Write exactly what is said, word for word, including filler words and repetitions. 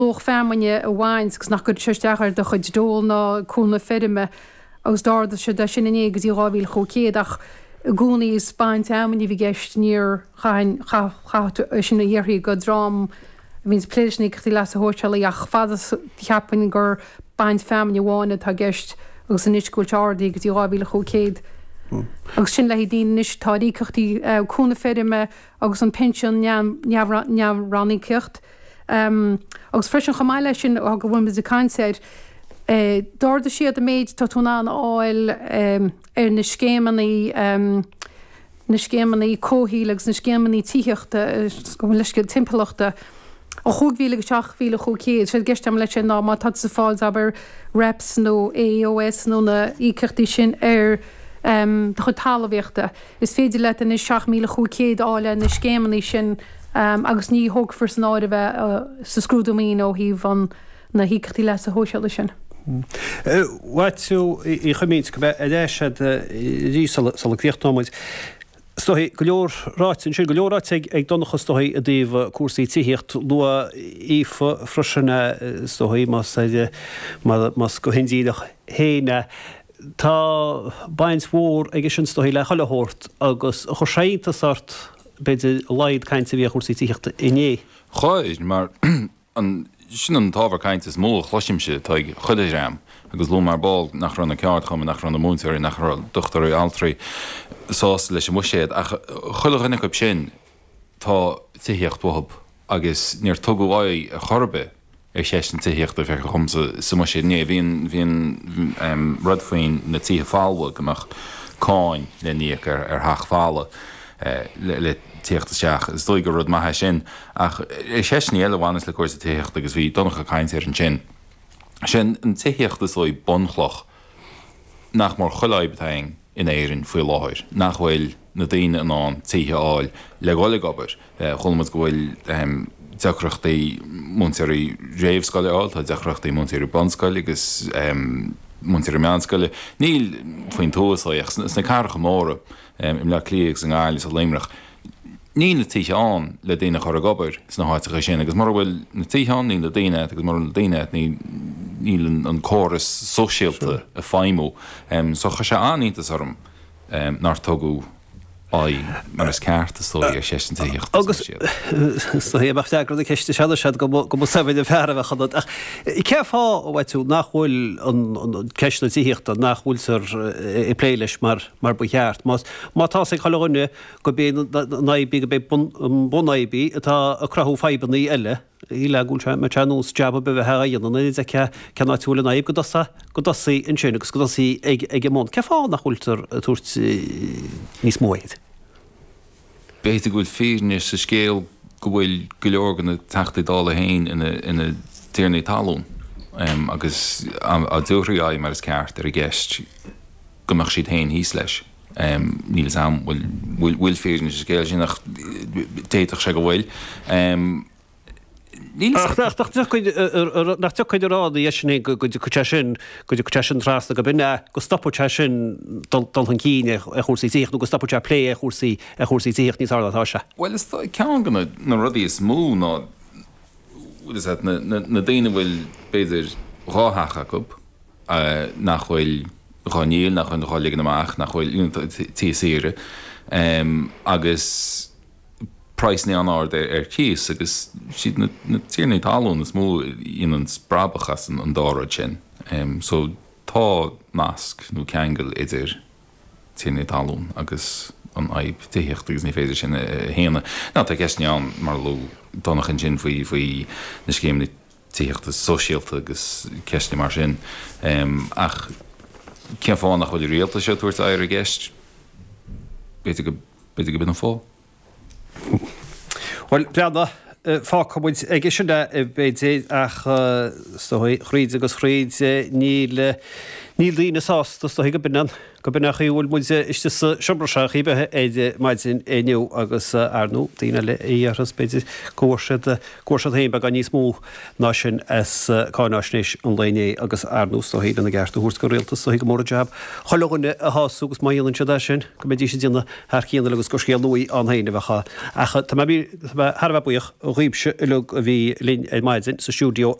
Luach feamainne a bhaint agus nach gcuirfeadh sé isteach ar do chuid dole ná cúnamh feirme agus d'ardaigh siad é sin inné go dtí dhá mhíle chúig chéad ach i gcónaí is baint fheamainne a bhí i gceist níor chaith chaith tú é sin a dhéarfaí go dream a bhíonns ag plé leis na híocaíochtaí leasa shóisialaigh ach fad is cheapfainn gur baint feamainne amháin atá i gceist agus anois go bhfuil sé ardaithe go dtí dhá mhíle chúig chéad agus sin le haghaidh daoine anois atá ar íocaíochtaí cúnamh feirme agus an pinsean neamh-ranníocaíocht. Agus freisin chomh maith leis sin go bhfuil muid ag caint air, d'ardaigh siad an méid atá tú in ann a fháil ar na scéimeanna, na scéimeanna comhshaoil agus na scéimeanna tithíochta, gabh mo leithscéal, timpeallachta, ó chúig mhíle go seacht mhíle chúig chéad. Séard i gceist agam leis sin ná má tá tú ag fáil abair REPS nó AEOS nó na íocaíochtaí sin ar do chuid talmhaíochta, is féidir leat anois seacht míle chúig chéad a fháil ar na scéimeanna sin agus ní thógfar san áireamh é sa scrúdú maoine ó thaobh an na híocaíochtaí leasa shóisialaigh sin. Mhaitiú Uí Chuimín, go mbeidh ar ais agat arís sula gcríochnóidh muid. Is dóigh, go leor ráite ansin, go leor ráite ag Donncha is dóigh i dtaobh cúrsaí tithíocht. Luaigh Aoife freisin é is dóigh, más más go hindíreach féin é. Tá baint mhór aige sin is dóigh le chuile shórt agus chuir sé iontas ort b'fhéidir a laghad cainte a bhí ar chúrsaí tithíochta inné. Chuir, mar an, sin an t-ábhar cainte is mó a chloisimse atá ag chuile dhream, agus luaigh mé ar ball nach raibh na ceardchumainn, nach raibh na múinteoirí, nach raibh dochtúirí, altraí sásta leis an mbuiséad, ach chuile dhuine acu sin, tá tithíocht uathub agus níor tugadh aghaidh ar chor ar bith ar cheist na tithíochta, feictear dhomsa, sa mbuiséad inné. Bhí an, bhí an rud faoin na tithe folmha, go mbeadh cáin le n-íoc ar, ar theach folamh le, le tíocht isteach. Is dóigh gur rud maith é sin. Ach ar cheisteanna eile a bhaineas le cúrsaí tithíochta, agus bhí Donncha ag caint air ansin, sin an tithíocht is dóigh bunchloch nach mór chuile fhadhb atá againn in Éirinn faoi láthair, nach bhfuil na daoine in ann tithe a fháil le dhul ag obair. Chuala muid go bhfuil deacrachtaí múinteoirí réamhscoile a fháil, tá deacrachtaí múinteoirí bunscoile agus múinteoirí meánscoile. Níl faoin tuath is dóigh ach sna cathracha móra, i mBleá Cliath agus i nGaillimh is i Luimneach, níl na tithe ann le daoine a chur ag obair sna háiteacha sin agus mura bhfuil na tithe ann níl na daoine agat agus mura bhfuil na daoine agat níl an córas sóisialta ag feidhmiú. So chuir sé an-iontas orm nár tugadh aghaidh mar is ceart is dóigh ar cheist na tithíochta Agus is dóigh mbeadh freagra na ceiste seo anois agat go mba saibhir an fear a bheadh ionat. Ach cén fáth, a Mhaitiú, nach bhfuil an ceist na tithíochta, nach bhfuiltear ag plé leis mar mar ba cheart? Má tá a fhios ag chuile dhuine gurb é an fhadhb í, gurb é an bunfhadhb í atá ag cruthú fadhbanna eile, shílfeá go bhfuil sé, mbeadh sé ar nós jab ar bith a bheith á dhéanamh nuair a d'fheicfeá cén áit a bhfuil an fhadhb go dtosaí, go dtosaí ansin agus go dtosaí ag, ag an mbun. Cén fáth nach bhfuiltear ag tabhairt níos mó air? B'fhéidir go bhfuil fírinne sa scéal go bhfuil go leor de na Teachtaí Dála féin ina, ina dtiarnaí talún agus dá dtabharfaí aghaidh mar is ceart ar an gceist go mbeadh siad féin thíos leis. Níl fhios a'm bhfuil bhfuil fírinne sa scéal sin ach d'fhéadfadh sé go bhfuil. Níl Ach nach dtiocfaidh a rá ina dhiaidh sin go dtiocfaidh sé sin, go dtiocfaidh sé sin trasna, go b'in é, go stopfaidh sé sin dul chun cinn ar chúrsaí tithíochta nó go stopfaidh sé plé ar chúrsaí ar chúrsaí tithíochta níos fearr ná atá sé. Bhuel is dóigh ceann de na rudaí is mó ná bhfuil fhios a'd na daoine a bhfuil b'fhéidir dhá theach acu, nach bhfuil dhá ndíol, nach bhfuil dhá ligean amach, nach bhfuil tithe saoire agus praghsanna an-ard ar cíos agus siad na tiarnaí talún is mó a dhéanann brabach as an dá rud sin. So tá nasc nó ceangal idir tiarnaí talún agus an fhadhb tithíochta agus ní féidir sin a shéanadh. Now tá ceisteanna ann mar a luaigh Donncha ansin faoi faoi na scéimeanna tithíochta sóisialta agus ceisteanna mar sin. Ach cén fáth nach bhfuil an rialtas seo ag tabhairt aghaidh ar an gceist? B'fhéidir go, b'fhéidir go b'in an fáth. Bhuel, breathnaigh, fágfaidh muid aige sin é, b'fhéidir, ach is dóigh, thríd agus thríd, níl, Níl daoine sásta is dóichí go b'in an go b'in an chaoi a bhfuil muid istigh sa seomra seo ar chaoi ar bith ar maidin inniu agus ar ndóigh daoine eile a dhéarfas b'fhéidir go bhfuair siad go bhfuair siad féin beagán níos mó ná sin as cáináisnéis an lae inné agus ar ndóigh is dóichí lena gceart a thabhairt don rialtas is dóichí go mór an jab chuile dhuine a shású agus má dhéanann siad é sin go mbeidís ag déanamh thar cionn agus gur scéal nua ann féin a bheadh ann. Ach tá mé thar a bheith buíoch dhaoibhse uilig a bhí linn ar maidin sa stiúideo.